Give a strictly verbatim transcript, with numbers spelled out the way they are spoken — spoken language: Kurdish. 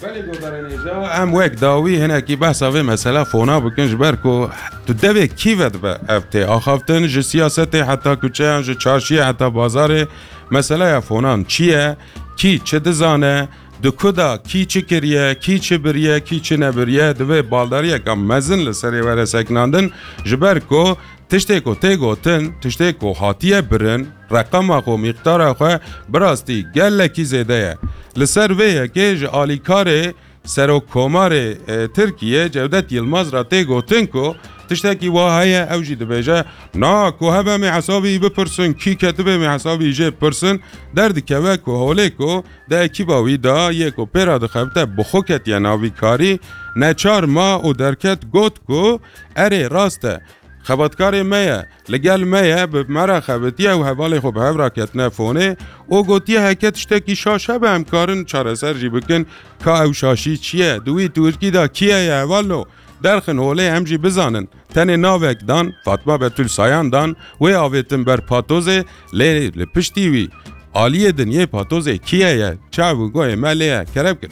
Belê godarên hêja, em wek dawî hinekî behsa vê mesela fona bikin, ji ber ku tu devê kî ve dibe ev tê axaftin, ji siyasetê heta kuçeyan, ji çarşiyê heta bazarê, meseleya fonan çi ye, kî çi dizane, di ku da kî çi kiriye, kî çi biriye, kî çi nebiriye, divê baldariyeka mezin li serê were sekinandin, ji ber ku tiştê ku tê gotin, tiştê ku hatiye birin, reqema xwe, mîqdara xwe bi rastî gelekî zêde ye. Li ser vê yekê ji alîkarê Serokkomarê, e, Tirkiyê Cevdet Yilmaz re tê gotin ku tiştekî wa heye, ew jî dibêje, na, ku hebe em ê hesabî wî bipirsin, kî ketibe em ê hesabî jê bipirsin, derdikeve ku holê ku di ekîba wî de yê ku pê re dixebite bi xwe ketiye nav vî karî, neçar ma û derket got ku erê rast e, xebatkarê me ye, li gel me ye, bi me re xebitiye û hevalê xwe bi hev re ketine fonê û gotiye heke tiştekî şaş hebe em karin çareser jî bikin, ka ew şaşî çi ye, di wî tirkî de kî heye hevalno, derxin holê em jî bizanin. Tenê navek dan, Fatma Betûl Sayan dan, wê avêtin ber patozê, lê li piştî wî aliyê din yê patozê kî heye, çav û goyê me lê ye, kerem kin.